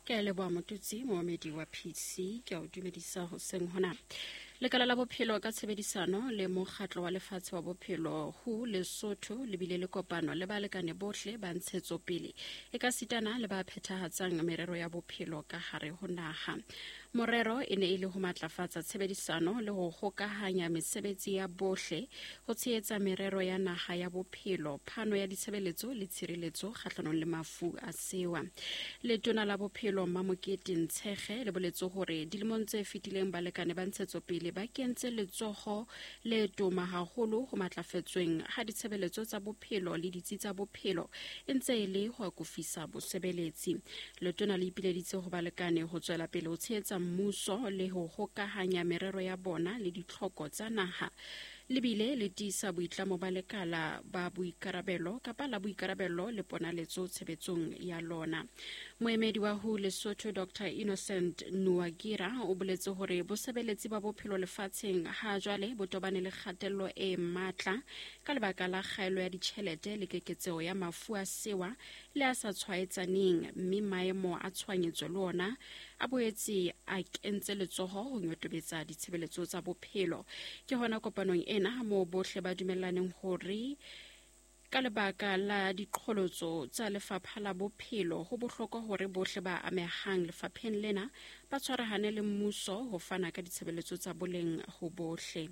Ke a leboha Motutsi, moomedi wa PC, ke a o dumedisa hoseng hona. Lekala la bophelo ka tshebedisano le mokgatlo wa lefatshe wa bophelo WHO Lesotho le bile le kopano le balekane bohle ba ntshetsopele e ka sitana le ba phethahatsang merero ya bophelo ka hare ho naha. Morero e ne e le ho matlafatsa tshebedisano le ho hokahanya mesebetsi ya bohle ho tshehetsa merero ya naha ya bophelo, phano ya ditshebeletso le tshireletso kgahlanong le mafu a sewa. Letona la bophelo Mmamokete Ntshege le boletse hore dilemong tse fetileng balekane ba ntshetsopele ba kentse letsoho le toma haholo ho matlafetsweng ha ditshebeletso tsa bophelo le ditsi tsa bophelo e ntse e le ho akofisa bosebeletsi. Letona le ipileditse ho balekane ho tswela pele ho tshehetsa mmuso le ho hokahanya merero ya bona le ditlhoko tsa naha le bile le tiisa boitlamo ba lekala ba boikarabelo kapa la boikarabelo le ponaletso tshebetsong ya lona. Moemedi wa WHO Lesotho Dr Innocent Nuagira o boletse hore bosebeletsi ba bophelo lefatsheng ha jwale bo tobane le kgatello e matla ka lebaka la kgaelo ya ditjhelete le keketseho ya mafu a sewa le a sa tshwaetsaneng, mme maemo a tshohanyetso le ona a boetse a kentse letsoho ho nyotobetsa ditshebeletso tsa bophelo. Ke hona kopanong ena moo bohle ba dumellaneng hore ka lebaka la diqholotso tsa lefapha la bophelo ho bohlokwa hore bohle ba amehang lefapheng lena ba tshwarahane le mmuso ho fana ka ditshebeletso tsa boleng ho bohle.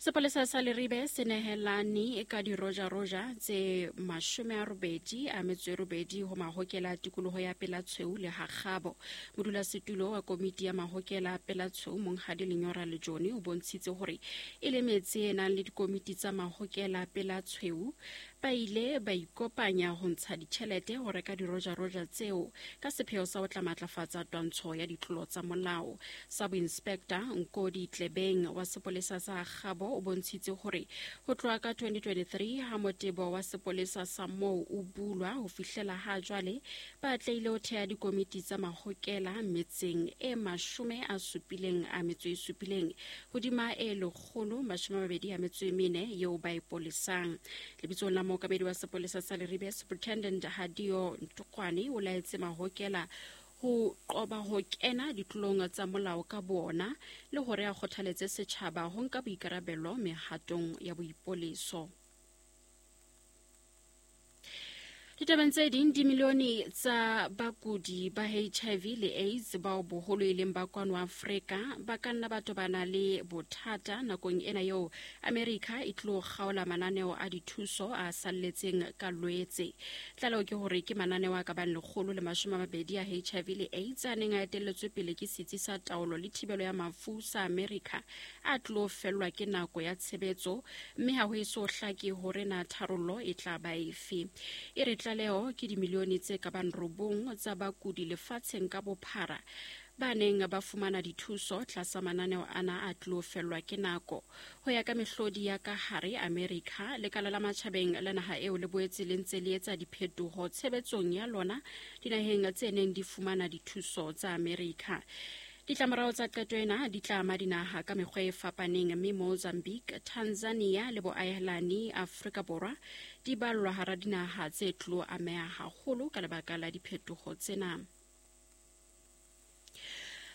Sepolesa sa Leribe se nehelane ka dirojaroja tse 88 ho mahokela a tikoloho ya Pelatshweu le Hakgabo. Modulasetulo wa komiti ya mahokela a Pelatshweu Monghadi Lenyora Lejone o bontshitse hore e le metse e nang le dikomiti tsa mahokela a Pelatshweu ba ile ba ikopanya ho ntsha ditjhelete ho reka dirojaroja tseo ka sepheo sa ho tla matlafatsa twantsho ya ditlolo tsa molao. Sub-Inspector Nkodi Tlebeng wa sepolesa sa Kgabo o bontshitse hore ho tloha ka 2023 ha motebo wa sepolesa sa moo o bulwa ho fihlela ha jwale ba atlehile ho thea dikomiti tsa mahokela metseng e 77 hodima e 124 eo ba e polesang. Lebitsong la mookamedi wa sepolesa sa Leribe, Superintendent Hadio Ntokwane o laetse mahokela ho qoba ho kena ditlolong tsa molao ka boona le hore a kgothaletse setjhaba ho nka boikarabelo mehatong ya boipoleso. Ditabeng tse ding, dimilione tsa bakudi ba HIV le AIDS bao boholo e leng ba kwano Afrika ba ka nna ba tobana le bothata nakong ena eo Amerika e tlo kgaola mananeo a dithuso a salletseng ka Lwetse. Tlaleho ke hore ke mananeo a ka bang 120 a HIV le AIDS a neng a etelletswe pele ke Setsi sa Taolo le Thibelo ya Mafu sa Amerika a tlo fellwa ke nako ya tshebetso mme ha ho eso hlake hore na tharollo e tla ba efe. E re tlaleho ke dimilione tse ka bang 9 tsa bakudi lefatsheng ka bophara ba neng ba fumana dithuso tlasa mananeo ana a tlo fellwa ke nako. Ho ya ka mehlodi ya ka hare Amerika, lekala la matjhabeng la naha eo le boetse le ntse le etsa diphetoho tshebetsong ya lona dinaheng tse neng di fumana dithuso tsa Amerika. Ditlamorao tsa qeto ena di tla ama dinaha ka mekgwa e fapaneng mme Mozambique, Tanzania le boahelani Afrika Borwa di ballwa hara dinaha tse tlo ameha haholo ka lebaka la diphetoho tsena.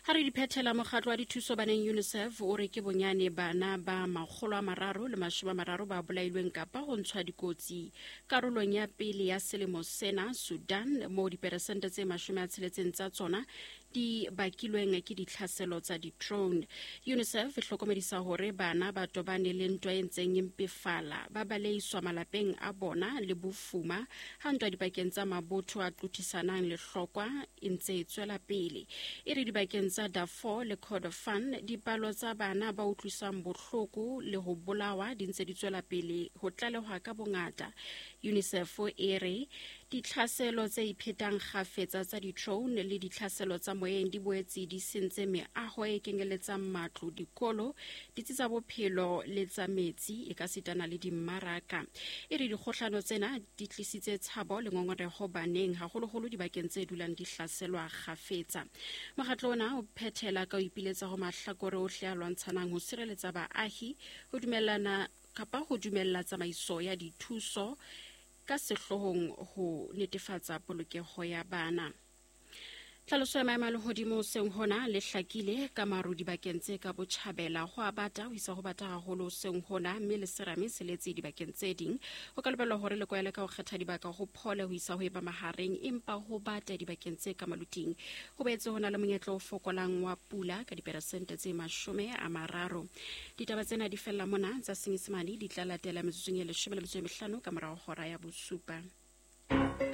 Ha re di phethela, mokgatlo wa dithuso baneng UNICEF o re ke bonyane bana ba 330 ba bolailweng kapa ho ntshwa dikotsi karolong ya pele ya selemo sena Sudan, moo diperesente tse 60 tsa tsona di bakilweng ke ditlhaselo tsa di-drone. UNICEF e hlokomedisa hore bana ba tobane le ntwa e ntseng e mpefala, ba baleiswa malapeng a bona le bofuma ha ntwa dipakeng tsa mabotho a qothisanang lehlokwa e ntse e tswela pele. E re dibakeng tsa Darfur le Kordofan, dipalo tsa bana ba utlwisang bohloko le ho bolawa di ntse di tswela pele ho tlalehwa ka bongata. UNICEF e re Ditlhaselo tse iphetang kgafetsa tsa di-drone le ditlhaselo tsa moyeng di boetse di sentse meaho e kenyeletsang matlo, dikolo, ditsi tsa bophelo le tsa metsi, e ka sitana le dimmaraka. E re dikgohlano tsena di tlisitse tshabo le ngongoreho baneng, haholoholo dibakeng tse dulang di hlaselwa kgafetsa. Mokgatlo ona o phethela ka ho ipiletsa ho mahlakore ohle a lwantshanang ho sireletsa baahi, ho dumellana kapa ho dumella tsamaiso ya dithuso. Ka sehloohong ho netefatsa polokeho ya bana. Tlhaloso ya maemo a lehodimo hoseng hona le hlakile ka maru dibakeng tse ka botjhabela, ho a bata ho isa ho bata haholo hoseng hona, mme le serame se letse dibakeng tse ding. Ho ka lebellwa hore le kwaele ka ho kgetha dibaka ho phole ho isa ho eba mahareng, empa ho bata dibakeng tse ka maluting. Ho boetse ho na le monyetla o fokolang wa pula ka diperesente tse 30. Ditaba tsena di fella mona, tsa Senyesemane di tla latela metsotsong e 15 ka morao hora ya 7.